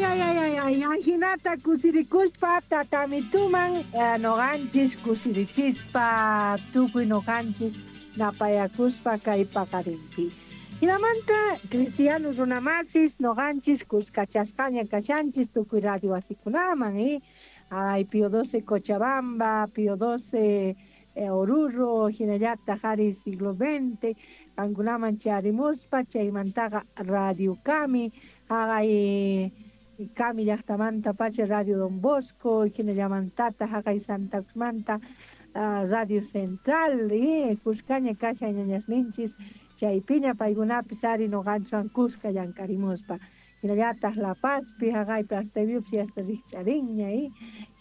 Ay, ay, ay, ay, ay, ajinata kusirikuspa tatamituman noqanchis kusirichispa tukuy noqanchis napayakuspa kay paqarinpi. Hinamanta cristiano runamasis noqanchis kuskachasqaña kashanchis tukuy radio wasikunaman, Ay, Pío XII Cochabamba, Pío XII Oruro, hinallataq ari siglo XX, qankunaman charimuspa chaymantaqa Radio Kami, haqay Kami llaqtamanta pacha Radio Don Bosco, hinallamantataq haqay Santa Cruzmanta Radio Central, kuskaña kashan ñañasninchis, chaypiña paykunapis ari noqanchwan kuska llank'arimuspa. Hinallataq La Pazpi haqaypi hasta viupsi hasta rikch'arinña,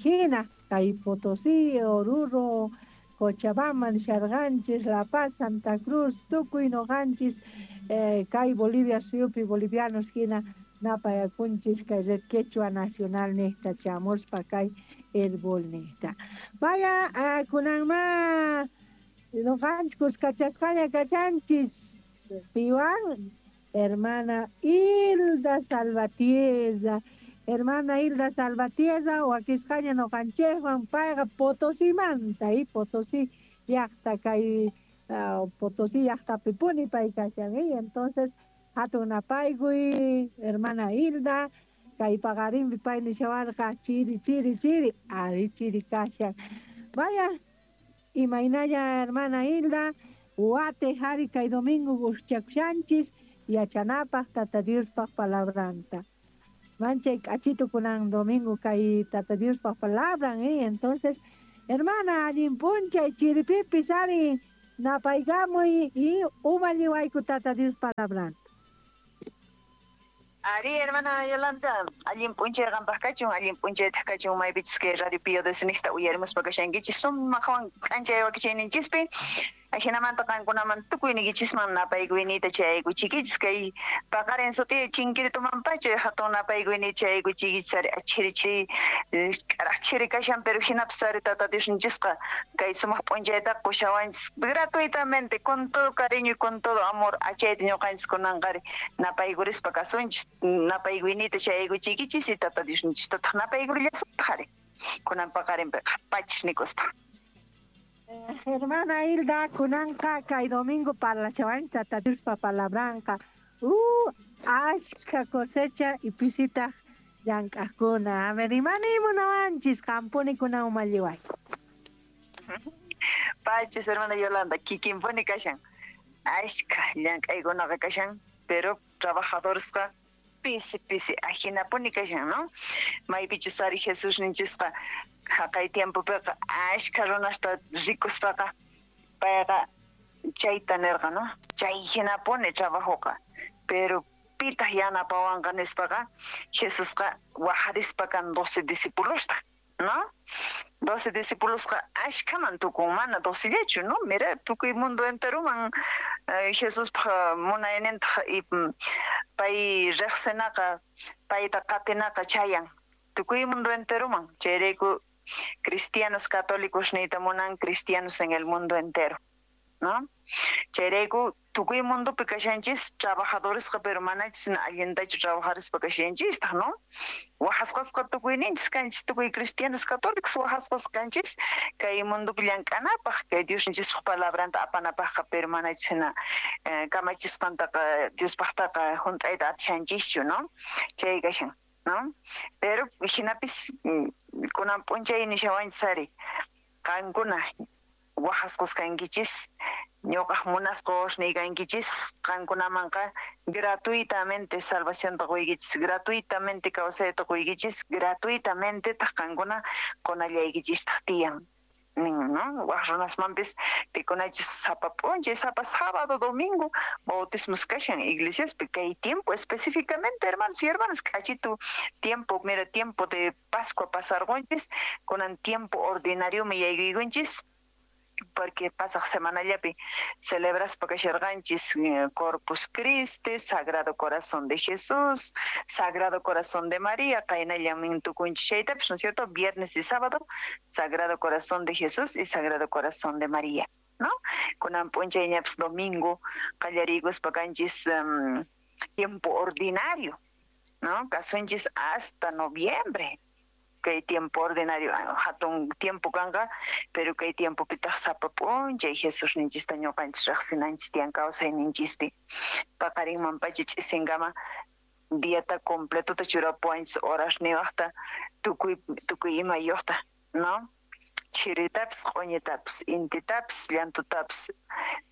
hina kay Potosí, Oruro, Cochabamba nisharqanchis, La Paz, Santa Cruz, tukuy noqanchis kay Bolivia suyupi bolivianos hina napayakunchis kay Red Quechua Nacional niqta chamuspa kay Herbol niqta. Vaya, kunanma noqanchis kuskachasqaña kachanchis piwan hermana Hilda Salvatierra. Hermana Hilda Salvatierra, wakisqaña noqanchikwan, payqa Potosimanta, Potosí llaqta kay Potosí llaqtapi pay kashan, entonces hatun napaykuy hermana Hilda, kay paqarinpi pay nishawarqa chiri chiri chiri, ari chiri kashan. Vaya, imaynalla hermana Hilda, wate hari kay domingo guschakushanchis, yachanapaq Tata Diospaq palabranta. Manchay k'achitu kunan domingo kay Tata Diospaq palabran, entonces, hermana, allin p'unchay chiripipis ari napaykamuy y umalliwayku Tata Dios palabranta. Ari, hermana Yolanda, allin p'unchay qampaq kachun, allin p'unchaytaq kachun maypichus kay Radio Pío XII niqta uyarimuspa kashankichis, sumaqwan k'anchay wakichayninchispi. Ajinamanta qankunaman tukuyniykichisman napaykuyniyta chayaykuchiykichis, kay paqarin sutiy chinkiritumanpacha hatun napaykuyniyta chayaykuchiykichis ari achhiri chiri k'araq chiri kashan, pero hinapis ari Tata Diosninchisqa kay sumaq p'unchaytaqa qushawanchis gratuitamente, con todo cariño y con todo amor, achayta ñuqanchis kunanqa ari napaykurispa kasunchis, napaykuyniyta chayaykuchiykichis y Tata Diosninchistataq napaykurillasuntaq ari kunan paqarinpiqa pachis nikuspa. Hermana Hilda, kunanqa kay domingo parlashawan Tata Diospa palabranqa. Ashka cosecha y pisitaq llank'aqkuna. A ver, imani munawanchis qampuni kunan umalliway. Pachis, hermana Yolanda, kikinpuni kashan. Ashka llank'aykunaqa kashan, pero trabajadoresqa pisi pisi ajinapuni kashan, ¿no? Maypichus ari Jesús ninchisqa haqay tiempopiqa ashka runasta rikuspaqa payqa chayta nirqa, ¿no? Chay hinapuni trabajoqa, pero pitaq yanapawanqa nispaqa Jesusqa wajarispa kan 12 discipulosta, ¿no? 12 discipulosqa ashkaman tukun, mana 12llachu, ¿no? Mira, tukuy mundo enteroman Jesuspaq munaynintaq y pay riqsinaqa, payta qatinaqa chayan tukuy mundo enteroman. Chayrayku cristianos católicos niyta munan cristianos en el mundo entero, ¿no? Chayrayku tukuy mundopi kashanchis trabajadoresqa, pero manachis allintachu trabajarispa kashanchistaq, ¿no? Wajasqasqa tukuyninchis kanchis, tukuy cristianos católicos wajasqas kanchis kay mundopi llank'anapaq, kay Diosninchispaq palabranta apanapaqqa, pero manachis hina kamachisqantaqa Diospaqtaqa hunt'ayta atishanchischu, ¿no? Chay kashan, ¿no? Pero hinapis kunan p'unchay nishawanchis ari qankuna wajasqas kankichis, ñuqaq munasqos niykankichis, qankunamanqa gratuitamente salvacionta quykichis, gratuitamente kawsayta quykichis, gratuitamente taq qankuna qunallaykichistaq tiyan nin, ¿no? Waj runasmanpis pikunachis sapa p'unchay, sapa sábado, domingo bautismos kashan iglesiaspi kay tiempo específicamente, hermanos y hermanas, k'achitu tiempo, mira, tiempo de Pascua pasarqunchis, kunan tiempo ordinario mi yaykuykunchis, porque pasaq semanallapi celebraspa kasharqanchis Corpus Christi, Sagrado Corazón de Jesús, Sagrado Corazón de María, qaynallan tukunchis chaytapis, ¿no es cierto? Viernes y sábado, Sagrado Corazón de Jesús y Sagrado Corazón de María, ¿no? Kunan p'unchayñapis domingo qallariykuspa kanchis tiempo ordinario. ¿No? Kasunchis hasta noviembre. Kay tiempo ordinario hatun tiempo kanqa, pero kay tiempopitaq sapa p'unchay Jesusninchista ñuqanchis riqsinanchis tiyan kawsayninchispi. Paqarinman pacha ch'isinkama diata completota churapuwanchis horasniwaqta tukuy tukuy imayuqta, ¿no? Chiritapis, q'uñitapis, intitapis, llantutapis,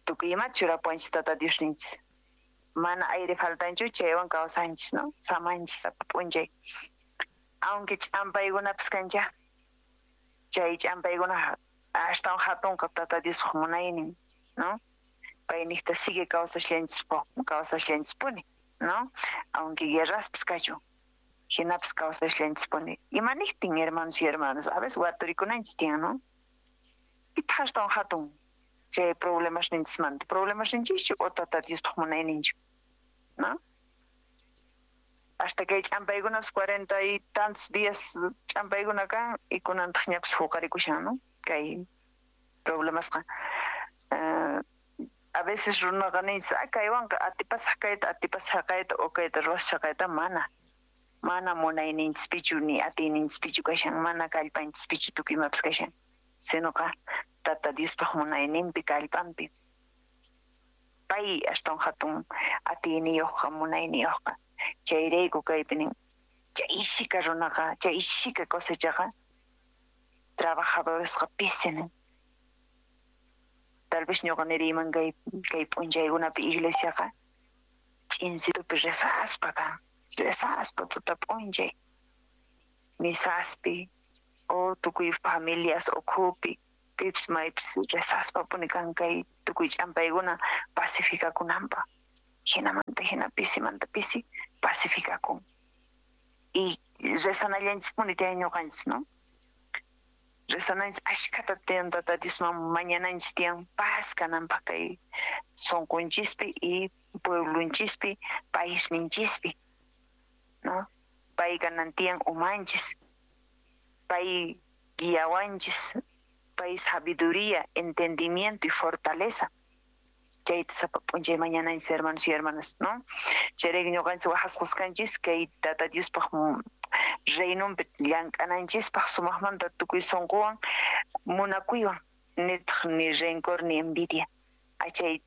tukuy imata churapuwanchis Tata Diosninchis. Mana aire faltanchu chaywan kawsanchis, ¿no? Samanchis sapa p'unchay. Aunque ch'ampaykunapis kancha, chay ch'ampaykuna astawan hatunqa Tata Diospaq munaynin, ¿no? Payniqta sigue kawsashllanchispuni, ¿no? Aunque guerraspis kachun, hinapis kawsashllanchispuni. Imaniqtin, hermanos y hermanas, a veces waturikunanchis tiyan, ¿no? Pitaq astawan hatun chay problemasninchismanta, problemasninchischu o Tata Diospaq munayninchu, ¿no? Hasta kay ch'ampaykunapas 40 y tantos días ch'ampaykuna kan y kunantaq ñapis huqarikushan, ¿no? Kay problemasqa. A veces runaqa ninchis, kaywanqa atipasaq kayta, atipasaq kayta o kayta ruwasaq kayta, mana. Mana munayninchispichu ni atiyninchispichu kashan, mana kallpanchispichu tukuy imapas kashan. Sinoqa Tata Diospaq munayninpi kallpanpi. Pay astawan hatun atiyniyuqqa, munayniyuqqa. Chayrayku kaypi nin, chay shika runaqa, chay shika cosechaqa trabajadoresqa pisi nin. Tal vez ñuqa niriyman kay p'unchaykunapi iglesiaqa ch'insitupi rezaspa kan, rezaspa tuta p'unchay, misaspi o tukuy familias ukhupi, pipis maypis rezaspa puni kan kay tukuy ch'ampaykuna pacificakunanpaq. Hinamanta hina pisimanta pisi pacificakun. Y rezanallanchispuni tiyan ñuqanchis, ¿no? Rezananchis ashkhata tiyan Tata Diosman mañananchis tiyan paz kananpaq kay sunqunchispi y pueblonchispi, paisninchispi, ¿no? Pay kanan tiyan umanchis, pay guiawanchis, pay sabiduría, entendimiento y fortaleza. Chayta sapa p'unchay mañananchis, hermanos y hermanas, ¿no? Chayrayku ñuqanchis waqasqaskanchis kay Tata Diospaq reinonpi llank'ananchispaq sumaqmanta tukuy sunquwan munakuywan, nitaq ni rencor ni envidia. Achay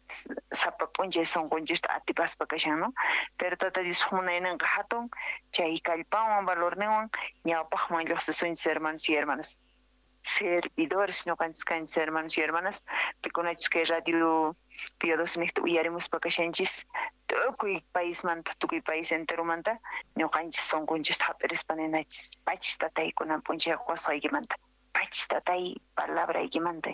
sapa p'unchay sunqunchista atipaspa kashan, ¿no? Pero Tata Diospaq munayninqa hatun, chay kallpanwan valorninwan ñawpaqman lluqsisunchis, hermanos y hermanas. Servidores ñuqanchis kanchis, hermanos y hermanas, pikunachus kay radio Pío XII niqta uyarimuspa kashanchis tukuy paismanta, tukuy país enteromanta ñuqanchis sunqunchista hap'irispa ninachis, pachis tatay kunan p'unchay qusqaykimanta, pachis tatay palabraykimanta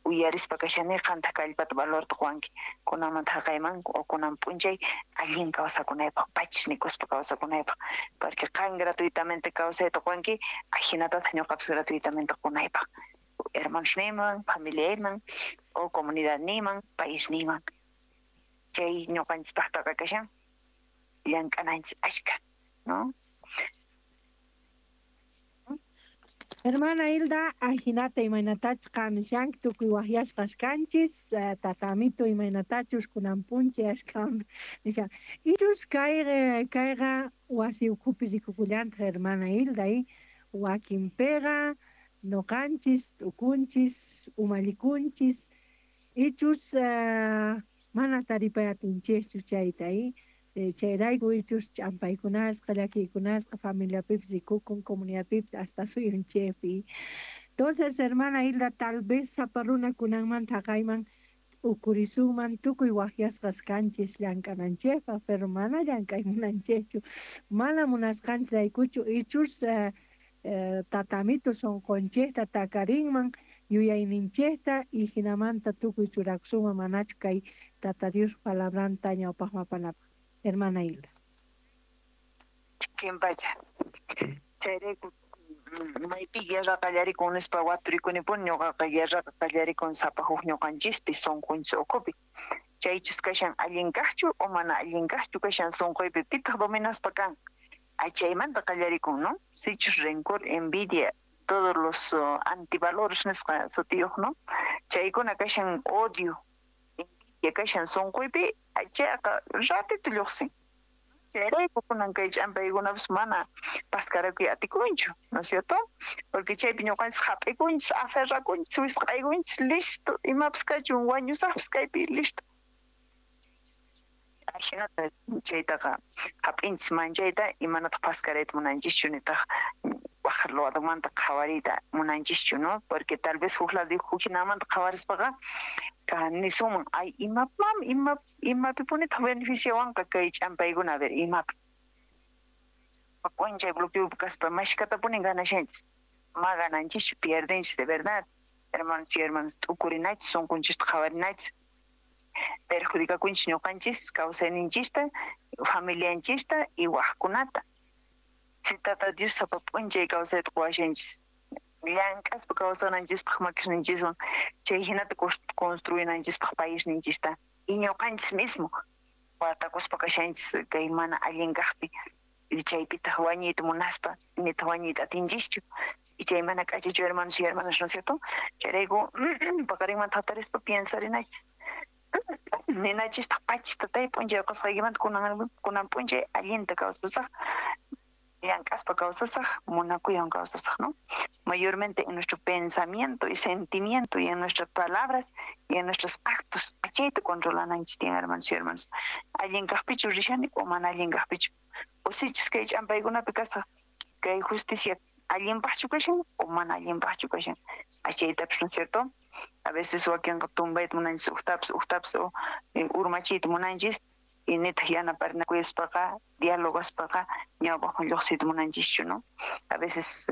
uyarispa kashani qantaq kallpata valorta quwanki kunanmanta haqayman o kunan p'unchay allin kawsakunaypaq, pachis nikuspa kawsakunaypaq, porque qan gratuitamente kawsayta quwanki, ajinatataq ñuqapis gratuitamente qunaypaq hermanosniyman, familiayman o comunidadniyman, paisniyman. Chay ñuqanchispaqtaqa kashan llank'ananchis ashka, ¿no? Hermana Hilda, ajinata imaynatachus qan nishanki tukuy waqyasqas kanchis, tatamito imaynatachus kunan p'unchay ashkhan nishan. Ichus kayqa wasi ukhupi rikukullantaq, hermana Hilda, wakinpiqa noqanchis, t'ukunchis, umallikunchis, ichus mana taripayatinchischu chayta, chayrayku ichus ch'ampaykunasqa, llakiykunasqa familiapipis rikukun, comunidadpipis hasta suyunchikpi. Entonces, hermana Hilda, tal vez sapa runa kunanmanta haqayman ukurisunman tukuy waqyasqas kanchis llank'ananchikpaq, pero mana llank'aymunanchikchu, mana munasqanchis ichus tatamito sunqunchikta takarinman yuyayninchikta y hinamanta tukuy churakusunman manachu kay Tata Dios palabranta ñawpaqman apanapaq. Hermana Hilda. Kimpacha. Chayrayku maypi guerra qallarikun nispa waturikunipuni ñuqaqa guerraqa qallarikun sapa huk ñuqanchispi sunqunchis ukhupi. Chaychus kashan allin kaqchu o mana allin kaqchu kashan sunquypi pitaq dominaspa kan. Chaymanta qallarikun, ¿no? Sichus rencor, envidia, todos los antivalores nisqa sutiyuq, ¿no? Chaykuna kashan odio, envidia kashan sunquypi, chayqa ratito lluqsin. Chayrayku kunan kay ch'ampaykunapis mana paskarakuy atikunchu, ¿no es cierto? Porque chaypi ñuqanchis hap'ikunchis, aferrakunchis, wisq'aykunchis, listo, imapas kachun, wañusaqpas kaypi, listo. Ajinata chaytaqa hap'inchis manchayta y manataq paskarayta munanchischu, nitaq waj ladomanta qhawariyta munanchischu, ¿no? Porque tal vez huk lado huk hinamanta qhawarispaqa nisunman, ay, imapam, imapipunitaq beneficiawanqa kay ch'ampaykuna, a ver, imapi. P'unchay bloqueopi kaspa mashkatapuni ganashanchis, ma gananchischu, pierdenchis de verdad. Hermanos y hermanas, t'ukurinachis, sunqunchista qhawarinachis, perjudicakunchis ñuqanchis, kawsayninchista, familianchista y wajkunata. Si Tata Dios sapa p'unchay kawsayta quwashanchis, llank'aspa kawsananchispaq makisninchiswan, chay hinata construinanchispaq paisninchista, y ñuqanchis mismo watakuspa kashanchis kay mana allin kaqpi, chaypitaq wañuyta munaspa, nitaq wañuyta atinchischu, y chay mana k'achachu, hermanos y hermanas, ¿no es cierto? Chayrayku paqarinmanta hatarispa piensarinachis, ninachistaq pachis tatay p'unchay qusqaykimanta kunan p'unchay allinta kawsasaq, llank'aspa kawsasaq, munakuywan kawsasaq, ¿no? Mayormente en nuestro pensamiento y sentimiento y en nuestras palabras y en nuestros actos, chayta controlananchis tiyan, hermanos y hermanas. Allin kaqpichu rishani o mana allin kaqpichu, o sichus kay ch'ampaykunapi kasaq, kay justicia allinpaqchu kashan o mana allinpaqchu kashan, achaytapis, ¿no es cierto? A veces wakinqa tumbayta munanchis, uqtapas o urmachiyta munanchis, y nitaq yanaparinakuyaspaqa, dialogaspaqa ñawpaqman lluqsiyta munanchischu, ¿no? A veces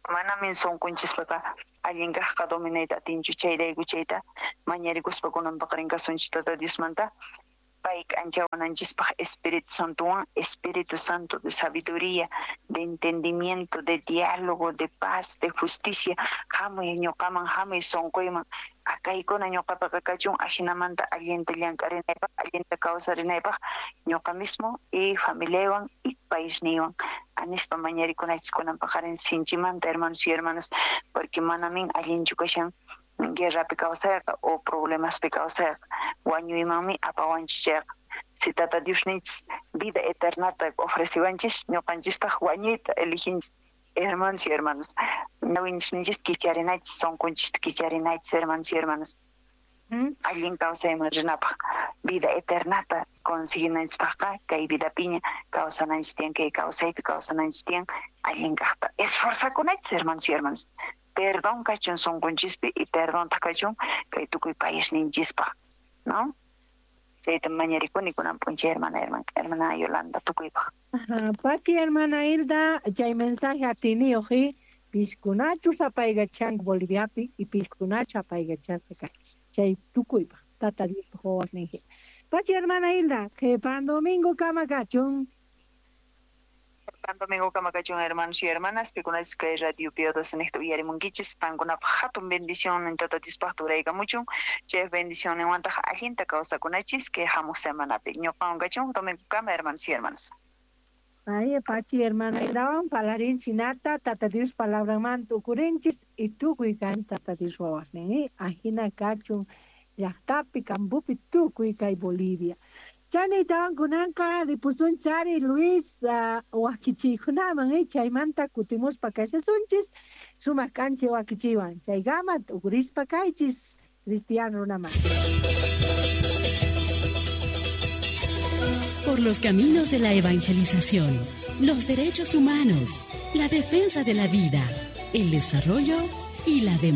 manamin sunqunchispaqa allin kaqqa dominayta atinchu, chayrayku chayta mañarikuspa kunan paqarin kasunchis Tata Diosmanta, pay k'anchawananchispaq Espíritu Santowan, Espíritu Santo de sabiduría, de entendimiento, de diálogo, de paz, de justicia, hamuy ñuqaman, hamuy sunquyman, akaykuna ñuqapaqa kachun, ajinamanta allinta llank'arinaypaq, allinta kawsarinaypaq, ñuqa mismo y familiaywan y paisniywan, anispa mañarikunachis kunan paqarin sinchimanta, hermanos y hermanas, porque manamin allinchu kashan guerrapi kawsayqa o problemaspi kawsayqa, wañuymanmi apawanchis chayqa. Si Tata Dios ninchis vida eternata ofreciwanchis, ñuqanchistaq wañuyta eliginchis, hermanos y hermanas. Ñawinchisninchis kicharinachis, sunqunchista kicharinachis, hermanos y hermanas. Allin kawsayman rinapaq, vida eternata conseguinanchispaqqa, kay vidapiña kawsananchis tiyan, kay kawsaypi kawsananchis tiyan, allin kaqta esforzakunachis, hermanos y hermanas. Perdón kachun sunqunchispi y perdón kachun kay tukuy paisninchispaq, ¿no? Chayta mañarikuni kunan p'unchay, hermana Yolanda, tukuypaq. Pati hermana Hilda, chay mensaje atiniyuq, piskunachu apaykachanku Boliviapi y piskunachu apaykachasqa kachis, chay tukuypaq, Tata Diospaq wawasninji. Pachi hermana Hilda, qhipan domingo kama kachun. Pan domingo kama kachun, hermanos y hermanas, pikunachis kay radio Piadoso niqta uyarimunkichis, qankunapaq hatun bendición Tata Diospaq turaykamuchun, chay bendicionninwantaq allinta kawsakunachis kay hamuq semanapi. Ñuqawan kachun domingo kama, hermanos y hermanas. Ay, pachi hermana Hildawan palarin sinata, Tata Dios palabramanta ukurinchis y tukuy kan Tata Dios wawasnin, ajina kachun llaqtapi, campopi, tukuy kay Bolivia. Chanitawan kunanqa ripusunchari Luis wakichiykunaman, chaymanta kutimuspa kashasunchis sumaq k'anchay wakichiywan, chaykama t'ukurispa kaychis cristiano runaman. Por los caminos de la evangelización, los derechos humanos, la defensa de la vida, el desarrollo y la democracia.